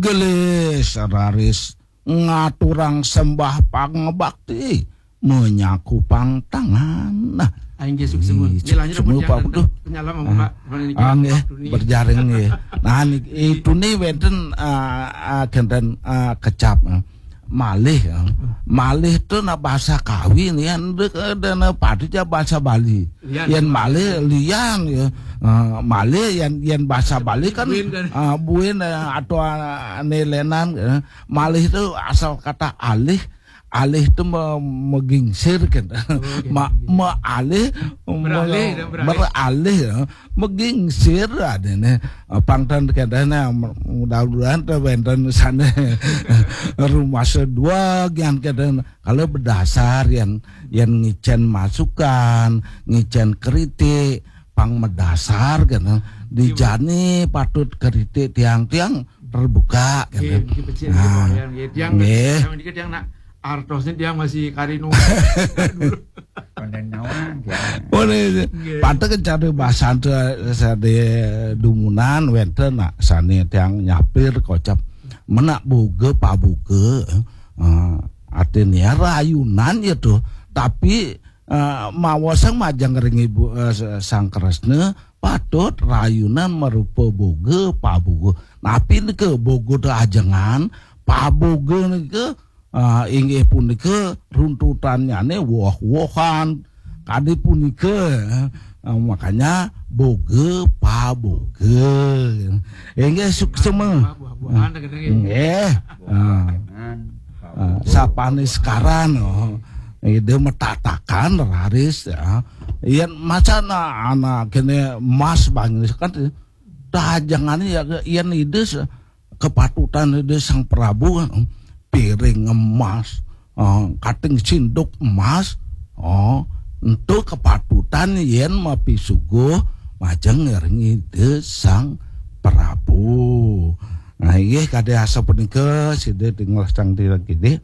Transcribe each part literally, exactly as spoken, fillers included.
Gelis raris ngaturang sembah pangabakti, menyakupang tangan. Nah, Aing ge suksma. Ih, Nggih, lanjut suksma, mun Pak. janten Waduh. Penyala mah Ah, Pak. Mana ini ah, nggih, waktu ini. Berjaring nggih. Nah, niki, itu nih wenten, ah, ah, kenten, ah, kecap, ah. Malih, ah. Malih tuh nah bahasa Kawi nih, yang dek, eh, dan, eh, padu ja bahasa Bali. Lian. Yang malih lian ya. Ah, malih yang yang bahasa Bali kan, Buin kan. Ah, buin, eh, atau, ah, nelenan, eh. Malih itu asal kata alih. Alih itu me- megingsir kan. Ma- mealih, Beralih, me- beralih. Beralih ya. Megingsir ada nih. Pangtan katanya mudah-mudahan tuh wenten sana rumah sedua gian katanya. Kalau berdasar yang yang ngicen masukan, ngicen kritik, pang medasar kan. Dijani patut kritik tiang-tiang terbuka kan. Nggih, nggih, becik, Nah, nggih, nggih. Tiang, nggih. Tiang niki tiang nak artosnya tiang masih karinu. Konten naon ya. Boleh. Patut cari bahasan tuh sadaya dumunan wenten nak sane tiang nyapir kocap menak boga paboga, eh, artinya rayunan ya tuh, tapi, eh, mawasang majeng ring ibu, eh, Sang Kresna patut rayunan merupa boga paboga. Napi nika boga teh ajengan, paboga nika, ah, inggih punika runtutannyane woh-wohan. Kadi punika, eh, makanya boga paboga. Inggih suksma. Buah-buahan, kata nggih. Nggih. Ah. Kan, Ah, sapane sekaran, oh. Ide metatakan raris ya. Yen macana anak kene emas bangis kan tajangane ya yen ide se- kepatutan ide Sang Prabu kan, piring emas, eh, kating sinduk emas, oh, entu kepatutan yen mapisuguh majeng ring ide Sang Prabu. Nah, inggih kade asa punika sida tinggal sang tira kidi.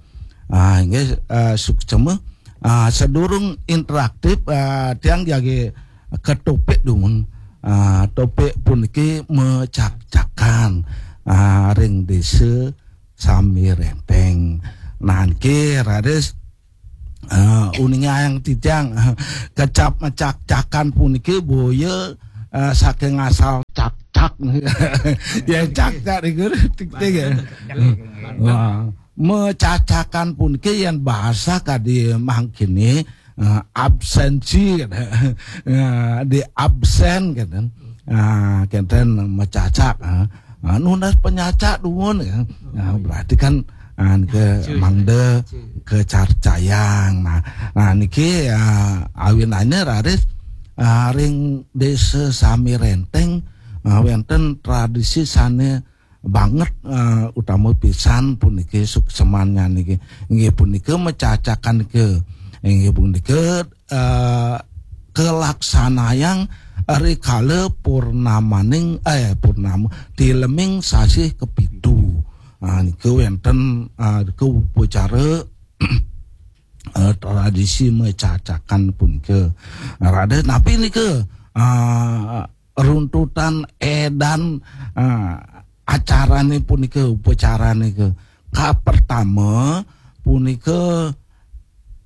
Ah, inggih, eh, suksma. Ah, sedurung interaktif, ah, tiang jagi ke topik dumun. Ah, topik puniki mecak-cakan, ah, ring desa Sami Renteng. Nah, niki raris, ah, uninga yang titiang kecap mecak-cakan puniki boya, ah, saking asal cak-cak. Ya cak-cak niku tik-tik ya. Wah, mecacakan puniki yen bahasa kadi mangkini, eh, absensi, eh, di absen kenten. Ah, kenten mecacak, eh. Ah, nunas penyacak dumun ya. Nah, berarti kan, ah, ke mangda kecarcayang. Nah, nah niki, ah, awinane raris, ah, ring desa Sami Renteng, ah, wenten tradisi sane banget, eh, utama pisan puniki suksemannya niki. Inggih punika mecacakan ke, inggih punika, eh, kelaksanayang rikala purnamaning, eh, purnama, tileming sasih kepitu. Ah, nika wenten, ah, nika upacara, eh, tradisi mecacakan punika. Raden, napi nika, ah, runtutan edan, ah, acarane punika, upacarane ke. Ka pertama punika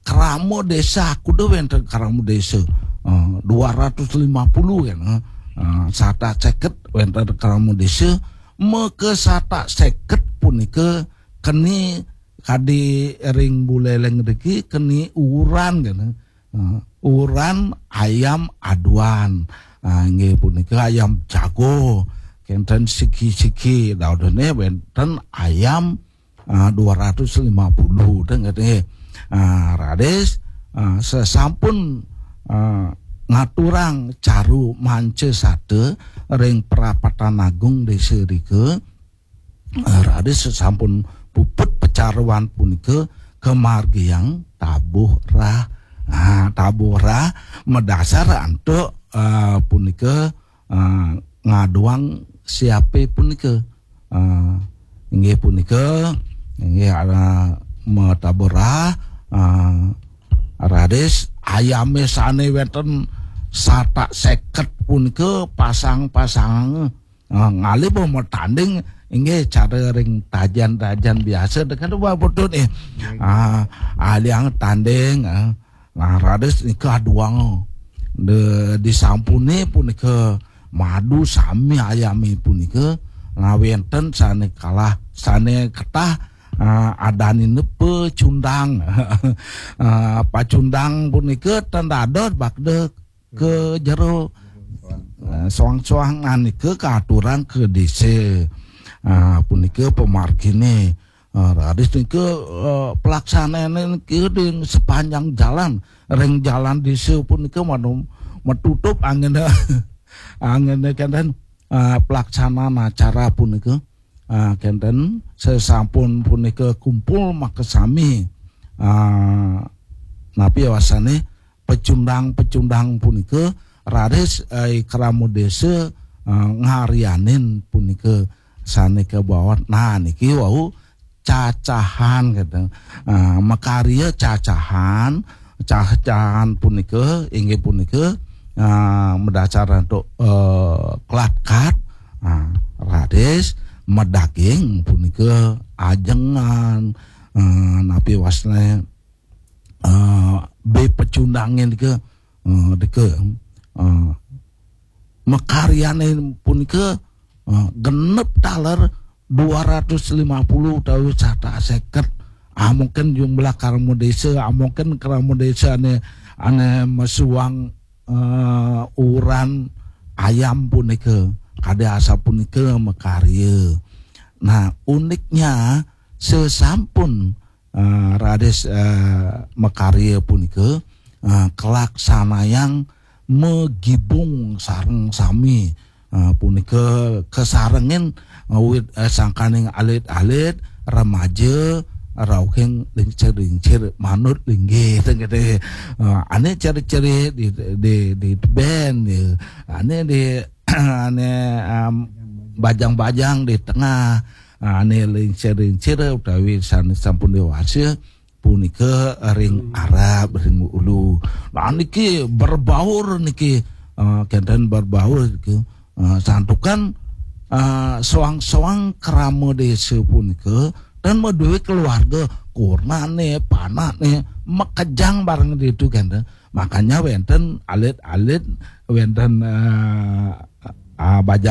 krama desa, kuda wenten krama desa. Ah, dua ratus lima puluh kan. Ah, satak seket wenten krama desa. Maka satak seket punika keni kadi ring Buleleng riki keni uran kan. Ah, uran ayam aduan. Ah, inggih punika ayam jago. Kenten siki-siki, daudene wenten ayam, ah, dua ratus lima puluh, dengar nggih. Ah, raris, ah, sesampun, ah, ngaturang caru manca sata ring Prapatan Agung Desa rika, ah, raris sesampun puput pecaruan punika kemargiang tabuh rah. Ah, tabuh rah madasar antuk, ah, punika, ah, ngaduang siape punika. Ah, inggih punika, inggih ada metabuh rah, ah, raris ayame sane wenten satak seket punika pasang-pasang. Ah, ngalih bo matanding Inggih, cara ring tajan-tajan biasa, dek kada bapak putun, eh. Ah, aliang tanding, ah. Nah, raris nika aduang. De, disampune punika madu sami ayami punika, nah, wenten sane kalah, sane ketah, ah, adanina pecundang. Ah, pacundang punika ten dados bakda ke jero. Ah, soang-soang nika kaaturang ke desa. Ah, punika pamargine. Ah, raris nika, eh, pelaksanane nika di sepanjang jalan, ring jalan desa punika manu-, metutup anggene, anggene kenten, ah, pelaksanaan acara punika. Ah, kenten, sesampun punika kumpul makasami. Ah, napi wasane pecundang-pecundang punika raris, eh, krama desa, eh, ngarianin punika sane kabaos. Nah, niki wau cacahan, kenten. Eh, makarya cacahan, cacahan punika inggih punika, eh, madasar antuk, eh, klat-kat, eh, raris madaging punika ajengan, eh, napi wasane, eh, be pecundange nika, eh, deka, eh, makaryane punika, eh, genep taler dua ratus lima puluh utawi satus seket. Ah, mungkin jumlah krama desa, ah, mungkin krama desa ane, ane mesuang, eh, uran ayam punika, kade asapunika makarya. Nah, uniknya sesampun, eh, raris, eh, makarya punika, eh, kalaksanayang magibung sareng sami, eh, punika kasarengin, eh, wit, eh, sangkaning alit-alit, remaja, rauhing lingsir-lingsir manut linggih teng kete. Eh, ane ciri-ciri di, di, di band, ya. Ane di, ane, em, bajang-bajang di tengah, ane lingsir-lingsir utawi sane sampun dewasa punika ring Arab, ring ulu. Nah, niki berbaur niki, eh, kenten berbaur niki. Eh, santukan, eh, soang-soang krama desa punika dan maduwe keluarga, kurnane, panakne, makejang bareng ditu kenten. Makanya wenten alit-alit, wenten, eh, ah, bajang